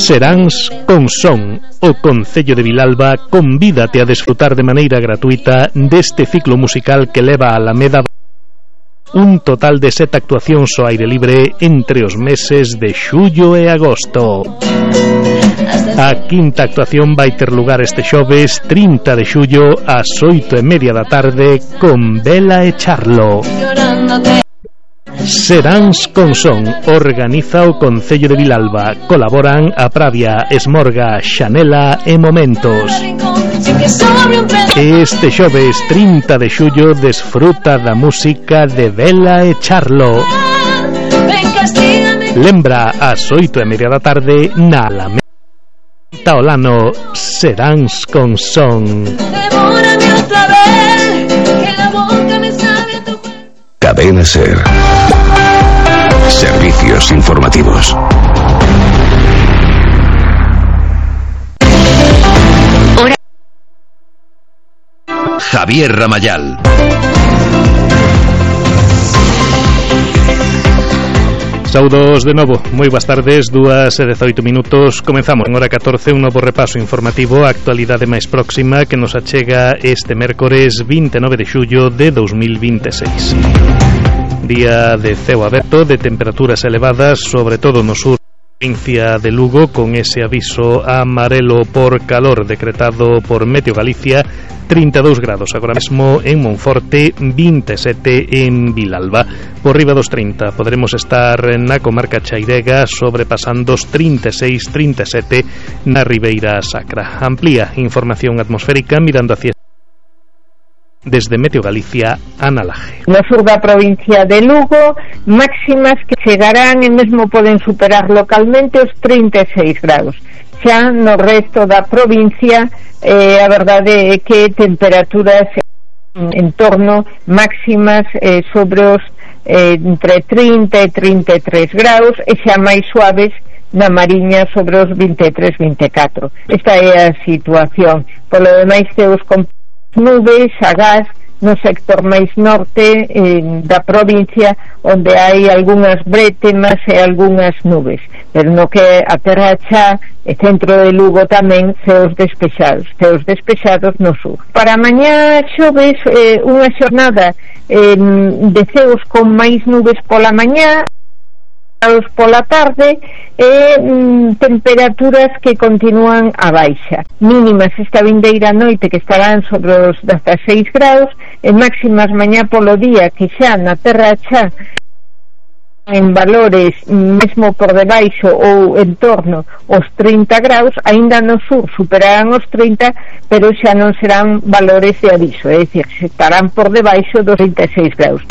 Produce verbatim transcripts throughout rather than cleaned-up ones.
Seráns con Son. O Concello de Vilalba convídate a desfrutar de maneira gratuita deste ciclo musical que leva a Alameda un total de sete actuacións ao aire libre entre os meses de xullo e agosto. A quinta actuación vai ter lugar este xoves trinta de xullo ás oito e media da tarde con Vela e Charlo. Seráns con Son organiza o Concello de Vilalba. Colaboran a Pravia, Esmorga, Xanela e Momentos. Este xoves trinta de xullo desfruta da música de Vela e Charlo. Lembra ás oito e media da tarde na Alameda Taolano. Seráns con Son. Cadena Ser. Servicios informativos. Hora. Javier Ramayal. Saudos de novo, moi boas tardes, dúas e dezoito minutos. Comenzamos en hora catorce un novo repaso informativo, a actualidade máis próxima que nos achega este mércores vinte e nove de xullo de dous mil vinte e seis. Día de ceo aberto, de temperaturas elevadas, sobre todo no sur provincia de Lugo, con ese aviso amarelo por calor decretado por Meteo Galicia. Trinta e dous grados agora mesmo en Monforte, vinte e sete en Vilalba. Por riba dos trinta poderemos estar na comarca chairega, sobrepasando os trinta e seis, trinta e sete na Ribeira Sacra. Amplía información atmosférica mirando hacia desde Meteo Galicia, Ana Laje. No sur da provincia de Lugo, máximas que chegarán e mesmo poden superar localmente os trinta e seis grados. Xa no resto da provincia, eh, a verdade é que temperaturas en torno máximas eh, sobre os eh, entre trinta e trinta e tres graus e xa máis suaves na Mariña sobre os vinte e tres, vinte e catro. Esta é a situación. Polo demais, teus con nubes, agás no sector máis norte eh, da provincia, onde hai algunhas brétemas e algunhas nubes, pero no que a terra xa e centro de Lugo tamén ceos despexados, ceos despexados no sur. Para mañá xoves eh, unha xornada eh, de ceos con máis nubes pola mañá, pola tarde e mm, temperaturas que continúan a baixa, mínimas esta vindeira noite que estarán sobre os dezasseis graus e máximas mañá polo día que xa na terra xa en valores mesmo por debaixo ou en torno os trinta graus, aínda no sur superarán os trinta, pero xa non serán valores de aviso, é dicir, estarán por debaixo dos trinta e seis graus.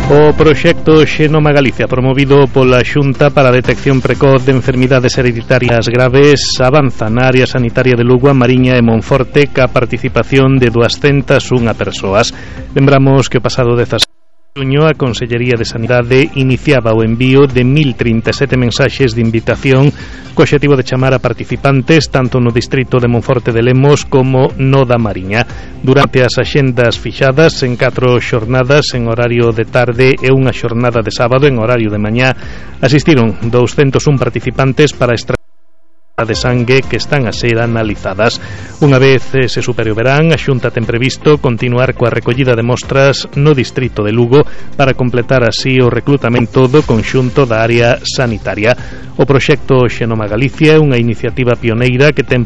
O proxecto Xenoma Galicia, promovido pola Xunta para a detección precoz de enfermidades hereditarias graves, avanza na área sanitaria de Lugo, a Mariña e Monforte ca participación de duascentas unha persoas. Lembramos que o pasado dezasete de xuño a Consellería de Sanidade iniciaba o envío de mil trinta e sete mensaxes de invitación co obxectivo de chamar a participantes tanto no distrito de Monforte de Lemos como no da Mariña. Durante as axendas fixadas en catro xornadas en horario de tarde e unha xornada de sábado en horario de mañá, asistiron douscentos un participantes para extraer de sangue que están a ser analizadas. Unha vez se supere o verán, a Xunta ten previsto continuar coa recollida de mostras no distrito de Lugo para completar así o reclutamento do conxunto da área sanitaria. O proxecto Xenoma Galicia é unha iniciativa pioneira que ten